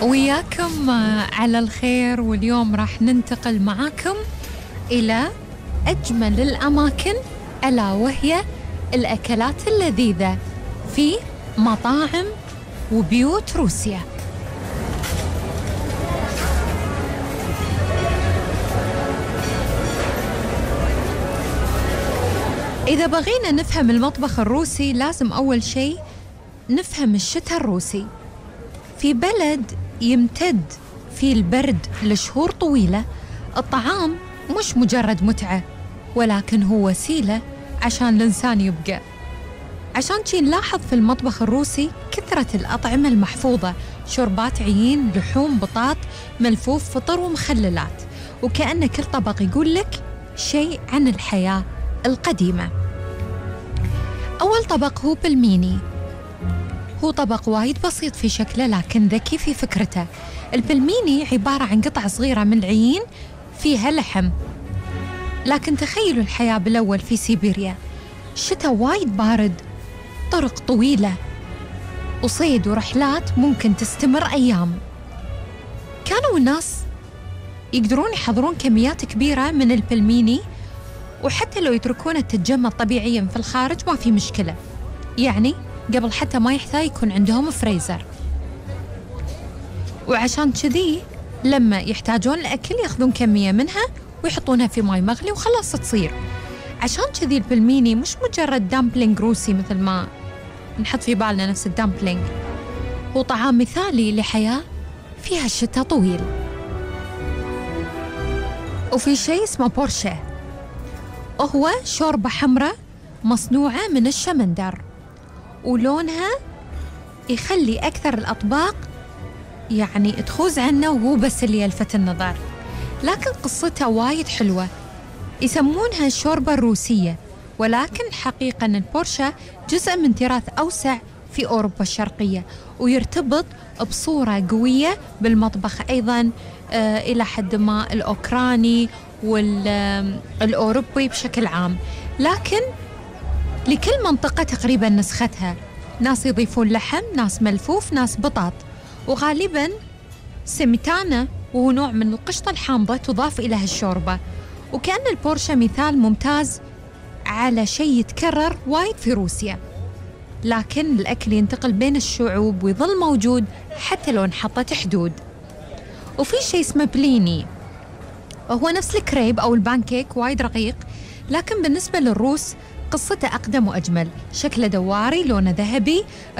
وياكم على الخير. واليوم راح ننتقل معاكم إلى أجمل الأماكن، ألا وهي الأكلات اللذيذة في مطاعم وبيوت روسيا. إذا بغينا نفهم المطبخ الروسي لازم أول شيء نفهم الشتاء الروسي. في بلد يمتد فيه البرد لشهور طويلة، الطعام مش مجرد متعة ولكن هو وسيلة عشان الإنسان يبقى. عشان شي نلاحظ في المطبخ الروسي كثرة الأطعمة المحفوظة، شوربات عيين، لحوم، بطاط، ملفوف، فطر ومخللات، وكأن كل طبق يقول لك شيء عن الحياة القديمة. أول طبق هو بلميني. هو طبق وايد بسيط في شكله لكن ذكي في فكرته. البلميني عبارة عن قطع صغيرة من العيين فيها لحم، لكن تخيلوا الحياة بالأول في سيبيريا، الشتاء وايد بارد، طرق طويلة وصيد ورحلات ممكن تستمر أيام. كانوا الناس يقدرون يحضرون كميات كبيرة من البلميني، وحتى لو يتركونه تتجمد طبيعيا في الخارج ما في مشكلة، يعني قبل حتى ما يحتاج يكون عندهم فريزر. وعشان كذي لما يحتاجون الأكل ياخذون كمية منها ويحطونها في ماء مغلي وخلاص تصير. عشان كذي البلميني مش مجرد دامبلينج روسي مثل ما نحط في بالنا نفس الدامبلينج، هو طعام مثالي لحياة فيها الشتاء طويل. وفي شيء اسمه بورشة، هو شوربة حمراء مصنوعة من الشمندر، ولونها يخلي أكثر الأطباق يعني تخوز عنه وهو بس اللي يلفت النظر، لكن قصتها وايد حلوة. يسمونها الشوربة الروسية، ولكن حقيقة البورشة جزء من تراث أوسع في أوروبا الشرقية، ويرتبط بصورة قوية بالمطبخ أيضا إلى حد ما الأوكراني والأوروبي بشكل عام. لكن لكل منطقة تقريبا نسختها، ناس يضيفون لحم، ناس ملفوف، ناس بطاط، وغالبا سميتانا وهو نوع من القشطة الحامضة تضاف إلى هالشوربة. وكأن البورشة مثال ممتاز على شيء يتكرر وايد في روسيا، لكن الأكل ينتقل بين الشعوب ويظل موجود حتى لو انحطت حدود. وفي شيء اسمه بليني، وهو نفس الكريب أو البانكيك وايد رقيق، لكن بالنسبة للروس قصته أقدم وأجمل. شكله دواري، لونه ذهبي،